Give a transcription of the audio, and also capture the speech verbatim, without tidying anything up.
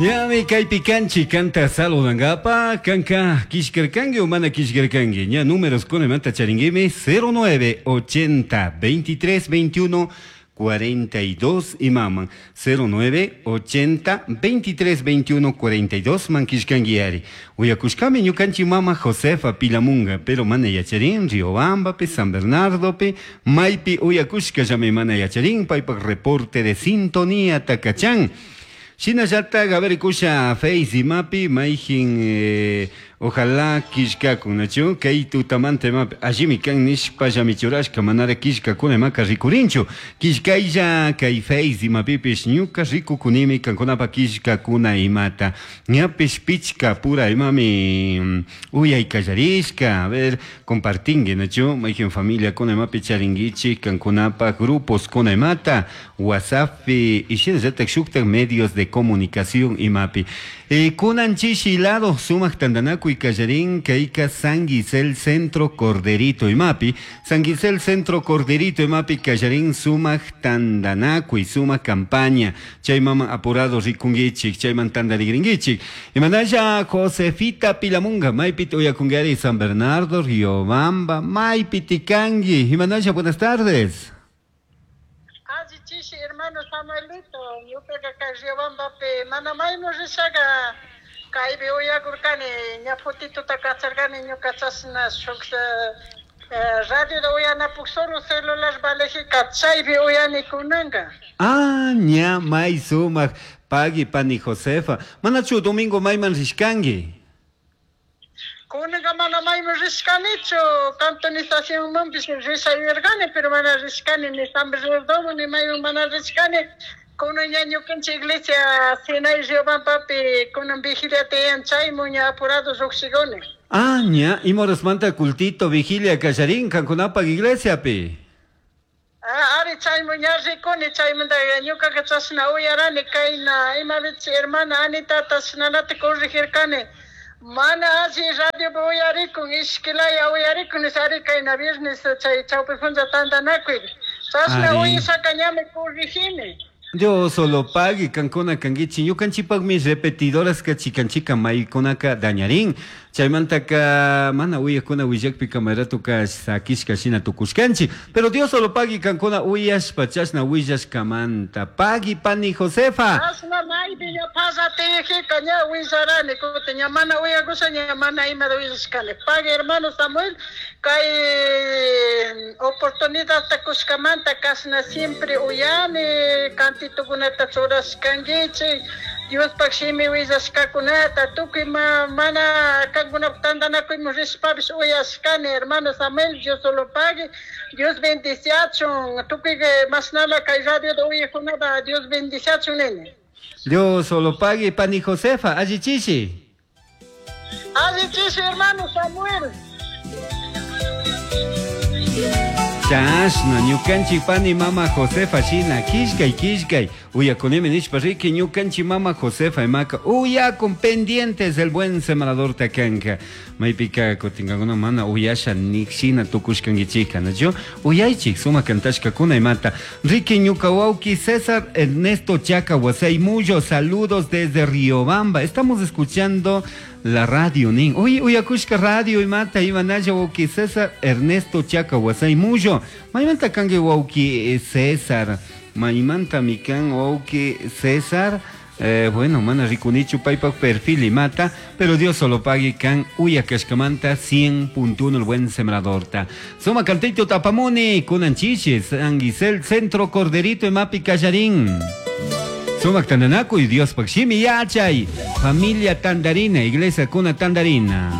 Ñami kaypi kanchik kanta saludangapa kanka kishkarkanki o mana kishkarkanki ña números kunamanta charinguimi cero nueve ochenta veintitrés veintiuno cuarenta y dos imaman cero nueve ochenta veintitrés veintiuno cuarenta y dos man kishkanguiari uyakushkami ñukanchik mama Josefa Pilamunga pero mana yacharin Riobambapi San Bernardopi maypi uyakushkallami mana yacharin paypak reporte de sintonía takachan. Shinallata a ver kusha Face imapi mayjin eh, ojalá kishkakunachu kay tutamanta imapi allimi kan nishpa llamichurashka manara kishkakuna imaka rikurinchu kishkaylla kay Face imapipish ñuka rikukunimi kankunapa kishkakuna imata ñapish pichka pura imami uyay kallarishka a ver compartingue nachu mayjin familia kuna imapi charinguichik kankunapa grupos kuna imata WhatsAppi y shinallata shuktak medios de comunicación imapi eh, kunan chishi lado sumak tandanakuy kallarin kayka San Gisel Centro Corderito imapi San Gisel Centro Corderito imapi kallarin sumak tandanakuy sumak campaña chay mama apurado rikunguichik chayman tandarigringuichik imanalla Josefita Pilamunga maypi uyakungari San Bernardo Riobamba maypi tikangi imanalla buenas tardes. Chishi hermano Samuelito, ñukaqa kay Riobambapi mana maymu rishaqa kaypi uyakurkani ña fotituta kacharkani ñuka chashna shuk radiota uyanapuk solo celular valejika chaypi uyani kunanka. Ah, ña may sumaq pagui pani Josefa. Manachu domingo mayman rishkanki? Kunanka mana mayman rishkanichu cantonizacionmanpish rishayurkani pero mana rishkani ni San Bernardo ni mayman mana rishkani kunan ña ñukanchik iglesia Sinai Riobambapi kunan vigilia tiyan chaymun ña apurado lluqshikuni. Ah, ña imorasmanta cultito vigilia kallarin kankunapaq iglesiapi. Ah, ari chaymun ña rikuni chaymanta ñukaqa chashna uyarani kayna imapichi hermana Anita chashnalata corregirkani. Mana alli radio uyarikun ishkilaya uyarikun ari kayna viernes chay chawpi punlla tantanakuy chashna uyashaka ñami corregini. Dios solo pague kankuna kanguichi ñukanchipaqmi repetidoras ka chikanchika maykunaka dañarin chaymantaka mana uyakuna willakpi kamaratuka sakishka shina tukushkanchi pero Dios solo pague kankuna uyashpa chashna willashkamanta pagui pani Josefa. Chashna maypi ña pasatijika ña willarani kutin ña mana uyakusha ña mana imata willashkani pagui hermano Samuel kay oportunidadta kushkamanta kashna siempre uyani cantitukunata churashkankichik Diospaq shimi willashkakunata tukuy ma mana kankunapaq tantanakuyman rishpapish uyashkani hermano Samuel Dios solo pague Dios bendiciachun tukuy mashnala kay radiota uyajkunata Dios bendiciachun nini. Dios solo pague pani Josefa allichishi. Allichishi hermano Samuel. Chashna ñukanchik pani mama Josefa shina kishkay kishkay uyakunimi nishpa riki ñukanchik mama Josefa imaka uyakun pendientes el buen sembrador takanka maypika kutinkankuna mana uyasha nik shina tukushkankichika nachu uyaychik sumak kantashkakuna imata riki ñuka wawki César Ernesto Chaca Huasaymuyo saludos desde Riobamba estamos escuchando la radio nin uy uyakushka radio imata imanalla wawki César Ernesto Chaca Huasaymuyo maymanta kanki wawki César maymanta mikan wawki César eh, bueno mana rikunichu paypak perfil imata pero Dios solo pague kan uyakashkamanta cien punto uno el buen sembradorta suma cantito tapamuni kunan chichi San Gisel Centro Corderito imapi kallarin Sumak tandanakuy Dios pakshimi yachay familia tandarina iglesia kuna tandarina.